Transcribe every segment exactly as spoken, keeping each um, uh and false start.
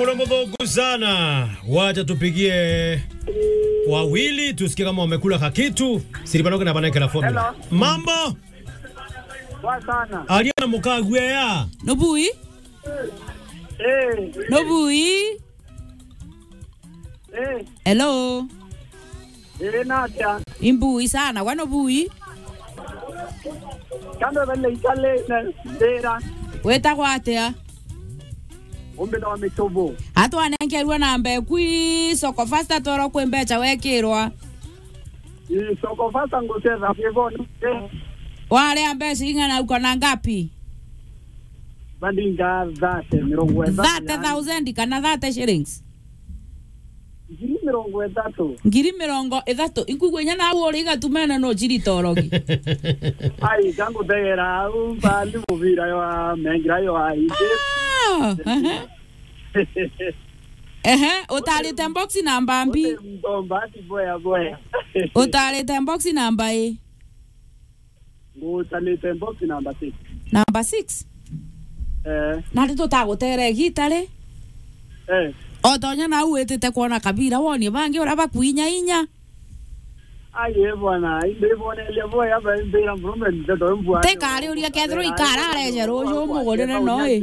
Muno muthuku sana. Wacha tupigie wawili, tusikie kama wamekula kakitu. Siribanoke na banekera formula. Hello. Mambo? Poa sana. Aria na mukagwea. Nubui? Eh. Nubui? Eh. Hello. Iri natia? Imbui sana, gwa nubui? Kando bele ikale na ndira. Wetagwa atia? Umbe na mitobo. Atwanengerwa namba eku i Soko Fasta toro kwi mbecha wekirwa. I Soko Fasta ngucetha kiboni. Waria mbecha ing'ana uko na ngapi? Bandinga thirty, mirongo ithatu. Thirty thousand kana thirty shillings? Ngiri mirongo ithatu. Ngiri mirongo ithatu. Inkuigua inya nawe uri igatumene no chiri torogi. Ai, kangutegera au mbandi mubira yo amengira yo ai. Ah, ehe. Ehe, utarite box namba mbi? Mtomba ati boya boya. Utarite box namba i? Ngutanite box number six. Number six? Eh. Na ri tutagutere igita ri? Eh. Otonya nau witite kwona kabira wonie bangi uria bakuinya inya. Ai, eh, bwana, indi bonelia boya ba mbira mrume ndeto mbwa. Tekari uria kethirwa ikara areje ruju umugurire no i.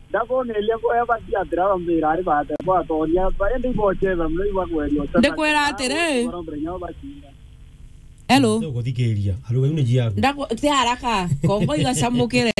Ndabonelia boya batiatira bambira ari bate bwatonia ba indi ibochetha mno ibagwerio. Ndikwira atiri. Hello. Uguthikiria. Aruga iu ni jiaku. Ndaku-, ti haraka. Kongo igacamukire.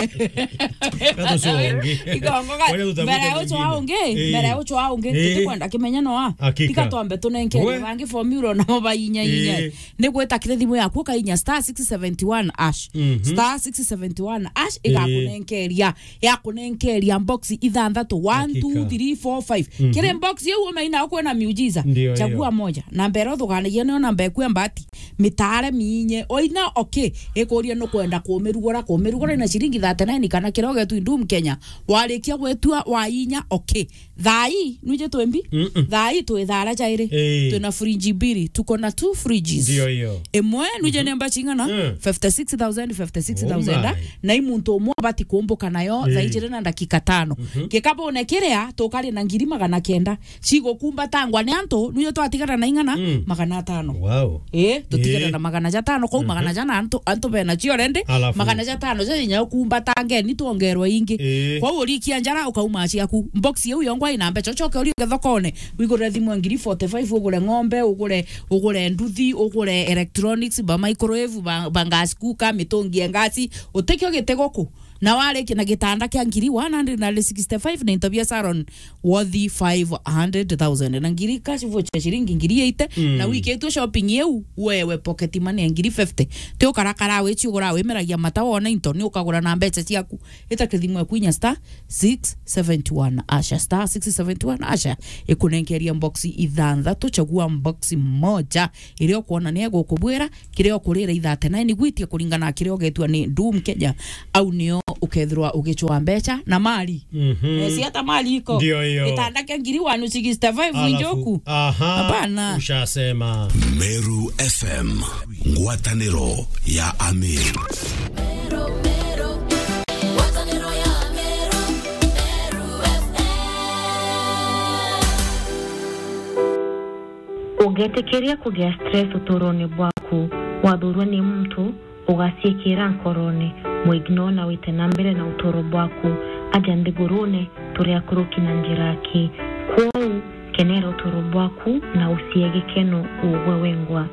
Gatucua ungi. Ikongo ga-, mbere ya ucwa ungi, mbere ya ucwa ungi, tutikwenda kimenya noa. Hakika. Tiga twambe tunenkerie bangi formula nao bainya inya. Ni gwita kiri thimu yaku ukainya star six seventy one hash. Mhm. Star six seventy one hash igakunenkeria, yakunenkeria box ithanthatu, one, two, three, four, five. Mhm. Kiri box iu umeina ukwena miujiza. Ndio, chagua moja. Namba iria uthuganagia niyo namba eku ya mbati. Mitare miinye. Oina, okay. Ikuria nukwenda kumirugura, kumirugura na ciringi thirty nine kana kiria ugetwi Doom Kenya. Warikia gwetua wainya, okay. Thaa ii, nwije twimbi? Mm-mm. Thaa ii twi thaara jairi. Ii. Twina fridge mbiri. Tuko na two fridges. Ndio hiyo. Imwe, nwije ni mbachi ing'ana? Mm. Fifty six thousand, fifty six thousand, oh my, na i muntu umwe abati kumbuka nayo thaa ijiri na ndakika tano. Mhm. Gikabune kiria, tukari na ngiri magana kenda. Cigukumbatangwa ni antu, nio twatigara na ing'ana? Mm. Magana atano. Wow. Ii, tutigara na magana jatano, kou magana jana antu, antu bena cio already, alafu magana jatano ja inya ukumbatangeni twongerwe ingi. Ii. Kwou urikia njara ukauma ciaku. Box iu yongwa ina mbecha, ucoke urie thokone, wigurire thimu ya ngiri forty five, ugure ng'ombe, ugure, ugure nduthi, ugure electronics, ba microwave, ba, ba gas cooker, mitungi ya ngasi, utikio giti guku. Na warikia na gitanda kia ngiri one hundred sixty five na into bia salon worth five hundred thousand. Na ngiri cash voucher ciringi ngiri eighty, mm, na wikitue shopping iu, wewe pocket money ya ngiri fifty. Ti ukarakara wici ugura wimeragia mata wona into, ni ukagura na mbecha ciaku. Ita kithimu ya kwinya star six seventy one asha, star six seventy one asha. Ikunenkeria box ithanthatu, chagua box moja. Iria ukwona ni egukubwira, kiria ukurira ithatena, ni gwitia kuringana na kiria ugetua ni Doom Kenya, au nio ukethirwa ugicwa mbecha na mali. Mhm. Eh, si hata mali iko. Ndio hiyo. Gitanda kia ngiri one sixty five. Alafu, njoku. Aha, hapana. Ushasema. Meru F M, ngwataniro ya Ameru. Ugeetikiria kugia stress utuurone bwaku. Wathuurwa ni muntu, ugaciikira nkorone, mu ignore na wite na mbere na utuuro bwaku. Aja nthiguruune, turi akuruki na njira aki. Kwou, kenera utuuro bwaku na ucie gikeno ugwe wengwa.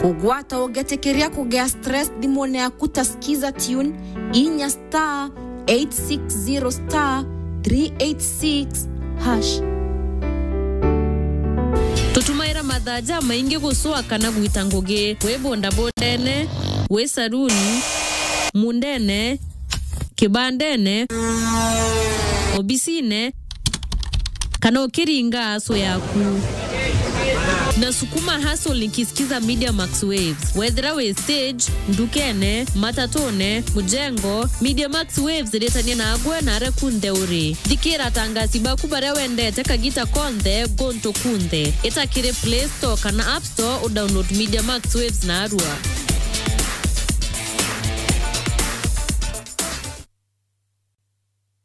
Kugwata ugeetikiria kugia stress thimune yaku ta Skiza Tune, inya star eight six zero star three eight six hash. Tutumaira mathaa jamaingi gucua kana gwita ngugi, wi bondabondene, wi saruni, mundene, kibandene, obisine, kana ukiringa aso yaku. Nasukuma hustle nikisikiza Media Max Waves. Wethira wi stage, ndukene, matatune, mujengo, Media Max Waves iritania nagwe na aria kunthe uri. Thikira atangasi baku baria wendete kagita konthe, guntu kunthe. Ita kiri Play Store kana App Store, udownload Media Max Waves narua.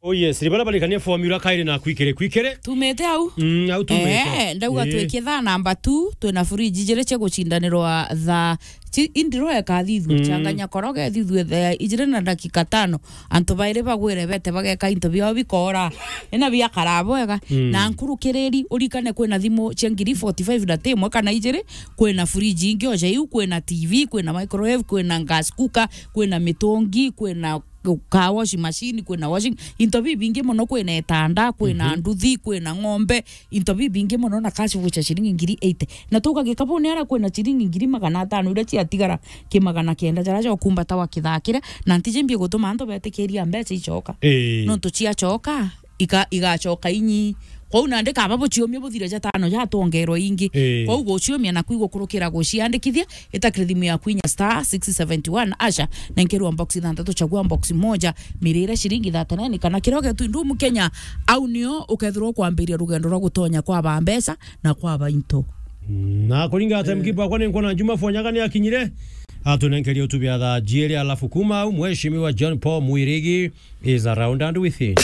Oh yes, ni bara barikania formula kairi na kwikire, kwikire. Tumite au? Mm, au tumite. Eh, ndauga Eh. Twikitha number two, twina fridge ijiri cia gucindanirwa thaa. Ci-, indirwa eka thithu, Mm. Changanya koroge thithu, eh, ijiri na dakika tano. Antu bairi bagwire bete bageka into biao bikora. Ina biakara bwega. Mm. Na nkurukiriri, urikane kwina thimu cia ngiri forty-five na ti imwe kana ijiri, kwina fridge ingi oja iu, kwina T V, kwina microwave, kwina gas cooker, kwina mitungi, kwina ka washing machine, kwina washing, into bibingi mono, kwina itanda, kwina Mhm. nduthi, kwina ng'ombe, into bibingi mono, na cash voucher ciringi ngiri eighty. Na tuga gikabuni ara kwina ciringi ngiri magana atano iria ciatigara ki magana kenda jaria jokumbata wa kithakire, na ntiji mbi gutuma antu betikiria mbeca icoka. Ii. Nontu ciacoka, ika-, igacoka inyi. Kwou nandi kaba buciumia buthire jatano jatwongerwa ingi. Ii. Kwou guciumia naku igukurukira guciandikithia, itakire thimu yaku inya star six seventy one asha, nenkerwa box ithanthatu, chagua box moja, mirire ciringi thirty-nine kana kiria ugetu ndumu Kenya, au nio ukethirwa ukwambiria rugendo rwa gutonya kwa ba mbeca na kwa ba into. Na kuringa ati mkipa akwa ni nkwona Juma Fonyaga ni akinyire, atunenkerie utubi ya thaa jiiri, alafu kuma au Mheshimiwa John Paul Mwirigi is around and with him.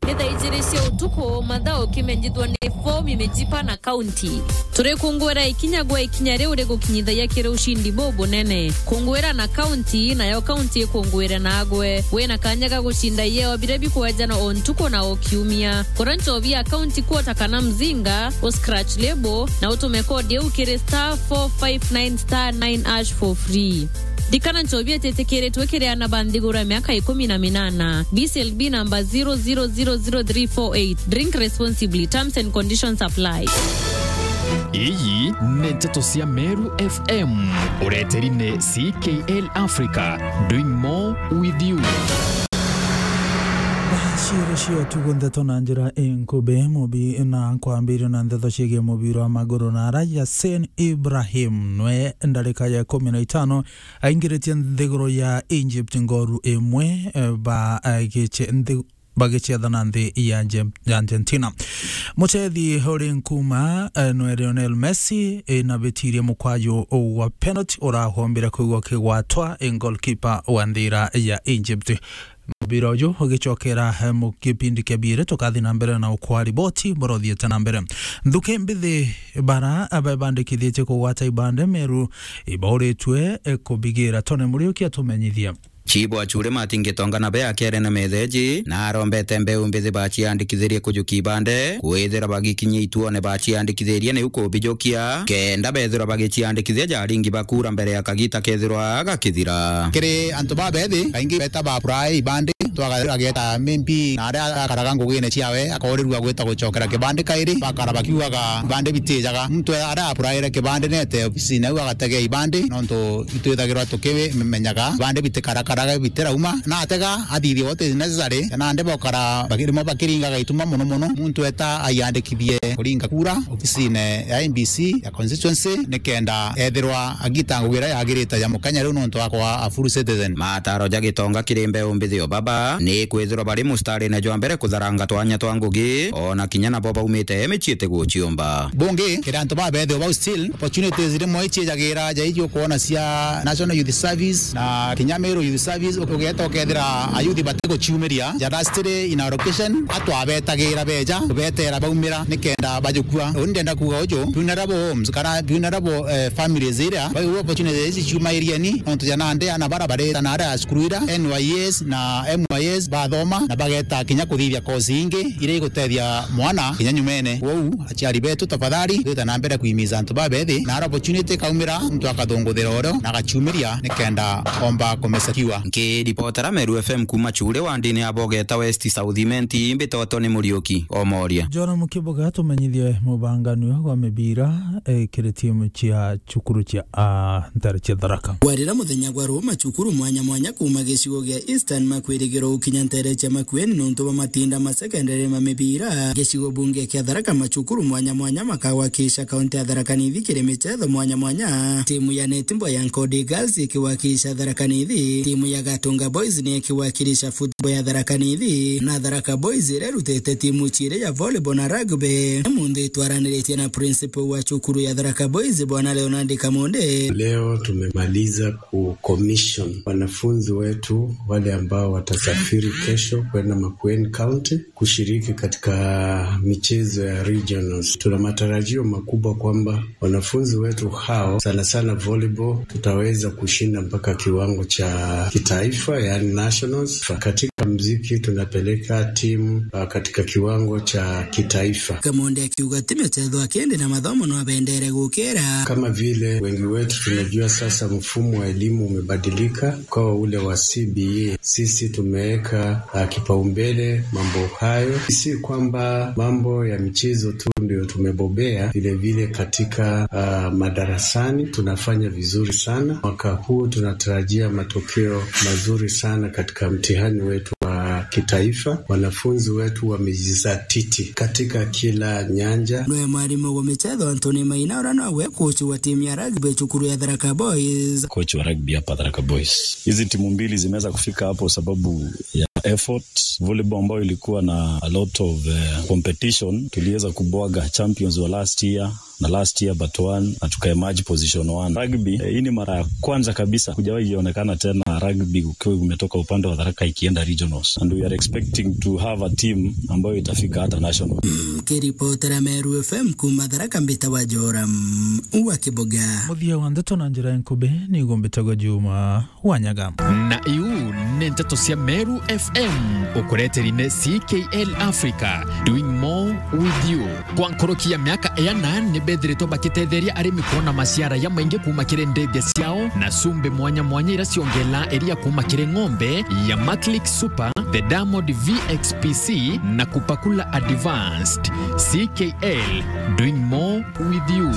Ni thaa ijiri cia utuku, mathaa ukimenyithwa ni fomi mijipa na kaunti. Turi kungwira ikinya gwa ikinya riu rigukinyithagia kiri ucindi bubunene. Kungwira na kaunti, nayo kaunti ikunguire nagwe. Wina kanya ga gucinda ieo biria bikwejanwa o ntuku na o kiumia. Kura nchobi ya kaunti kuota kana mzinga, u scratch label, na utume kodi iu kiri star four five nine star nine hash for free. Ndikana nchobi ititikiritwe kiri ana ba nthiguru ya miaka ikumi na minana. B C L B number zero zero zero zero three four eight. Drink responsibly. Terms and conditions apply. Iyi ni nteto cia Meru F M. Ureteri ni C K L Africa. Doing more with you. Ciiri cia tugo ndeto na njira inkubi, mubi na kwambiria na ndeto ciigie mubira wa maguru na ara Yasin Ibrahim nwe ndarika ya ikumi na itano aingiritie nthiguru ya Egypt ngoru imwe, eh, ba, eh, giche-, nthi-, bagiciathana nthi ya Arge-, ya Argentina. Muchethi uri nkuma, eh, nwe Lionel Messi, eh, nabitirie mukwaju wa penalty urahombire kwigwa kigwatwa, eh, goalkeeper wa nthira ya Egypt. Mubira uju ugicokera, eh, mu kipindi kia biiri, tukathi na mbere na ukwa riboti buria uthiite na mbere. Nthuki mbithi bara abebandikithitie kugwata ibande Meru ibauritue, eh, kubigira. Tony Muriuki atumenyithia. Chibu Achure Martin Gitonga nabe akiaria na metheji na arombete mbeu mbithi baciandikithirie kujukia ibande, kwithira bagikinyia ituone baciandikithirie niu kubijukia, kenda bethirwa bagiciandikithia jaringi bakura mbere ya kagita kethirwa gakithira. Kiri antu babethi, kaingi beta ba apply ibandi, twaga-, ageta M P na aria akaraga ngugine ciawe, akoorirua gwita gucokera kibandi kairi, bakara bakiugaga ibandi bitijaga. Muntu aria applyire kibandi nete obisine au agategea ibandi, nontu itwithagirwa tukimenyaga ibandi bitikarakaraga bitirauma, na atega athithia what is necessary, na nandi bokara baki-, rimwe bakiringaga ituma mono mono, muntu eta aiandikithie kuringa kura obisine ya M B C ya constituency, nikenda ethirwa agita ngugi iria yagirite ya mukenya riu nontu akwa a full citizen. Mataro ja Gitonga kiri mbeu mbithi o baba ni kwithirwa bari mustarine jwa mbere kutharanga twanya twa ngugi, ona kinya nabo baumite micii iti guciumba. Bungi, kiri antu babethio bau still, opportunities rimwe iciijagira ja iji ukwona cia National Youth Service na kinya Meru Youth Service, ukugeta ukethira ayuthi batiguciumiria, ja lastly in our location, atwabetagira beja, kubetera baumira, nikenda bajukua. Uni ndenda kuuga uju, vulnerable homes, kana vulnerable, eh, families iria, bau opportunities ici ciumairieni, nontu ja nandi ana bara bareta na aria cukuru ira, N Y S na M Y S bathoma, na bageta kinya kuthithia course ingi, iria igutethia mwana kinya nyumene. Kwou, aciari betu, tafadhali, twita na mbere kuimiza antu babethi, na ara opportunity ikaumira, muntu akathunguthira urio, na agaciumiria, nikenda omba kumesakiwa. Nkiripotera Meru F M kuma Chure wandini ya Bogeta West South Imenti, mbitotwo ni Muriuki Omoria. John Mukibuga atumenyithie mubanganio gwa mibira, eh, kiri timu cia cukuru cia, ah, ntare cia Tharaka. Kwarira muthenya gwa ruu, macukuru mwanya mwanya kuuma gicigo gia Eastern makwirigirwo gukinya ntere cia Makueni nontu bwa matinda ma secondary ma mibira. Gicigo bunge kia Tharaka, macukuru mwanya mwanya makagwakiisha kaunti ya Tharaka Nithi kiri michetho mwanya mwanya. Timu ya netball ya Nkodi Girls ikigwakiisha Tharaka Nithi, timu ya Gatunga Boys ni ikigwakiisha football ya Tharaka Nithi, na Tharaka Boys iria irutite timu ciiri ya volleyball na rugby. Umunthi twaraniritie na principal wa cukuru ya Tharaka Boys, Bwana Leonard Kamonde. Leo tumemaliza ku commission wanafunzi wetu wale ambao watasaidia Firi kesho kwenda Makueni County kushiriki katika michezo ya regionals. Tuna matarajio makubwa kwamba wanafunzi wetu hao, sana sana volleyball, tutaweza kushinda mpaka kiwango cha kitaifa, yani nationals. Katika mziki tunapeleka timu, ah, katika kiwango cha kitaifa. Kamonde akiuga ti michezo akindi na mathomo no abendere gukira. Kama vile wengi wetu tunajua sasa mfumo wa elimu umebadilika kwa ule wa C B E. Sisi tumeweka, ah, kipaumbele mambo hayo. Si kwamba mambo ya michezo tu ndio tumebobea, vile vile katika, ah, madarasani tunafanya vizuri sana. Mwaka huu tunatarajia matokeo mazuri sana katika mtihani wetu wa kitaifa. Wanafunzi wetu wamejizatiti katika kila nyanja. Nwe mwarimu wa michezo Anthony Maina, uria nowe coach wa timu ya rugby cukuru ya Tharaka Boys. Coach wa rugby hapa Tharaka Boys. Hizi timu mbili zimeweza kufika hapo sababu ya effort. Volleyball ambayo ilikuwa na a lot of, eh, competition, tuliweza kubwaga champions wa last year na last year but one, na tukaemerge position one. Rugby, eh, hii ni mara ya kwanza kabisa, kujawahi ionekana tena rugby ukiwa umetoka upande wa Tharaka ikienda regionals, and we are expecting to have a team ambayo itafika hata national. Kiripotera Meru F M kuma Tharaka, mbita wa Joram wa Kiboga. Muthia wa ndeto na njira nkubi ni gumbitagwa Juma Wanyaga. Na iu ni nteto cia Meru F M, ukureteri ni C K L Africa, doing more with you. Kwa nkoroki ya miaka iana, ni bethiritwe bakitetheria arimi kuona maciara ya maingi kuma kiri ndithia ciao, na cumbi mwanya mwanya ira ciongela iria kuma kiri ng'ombe ya Maclick Super, the Diamond V X P C, na Kupakula Advanced. C K L, doing more with you.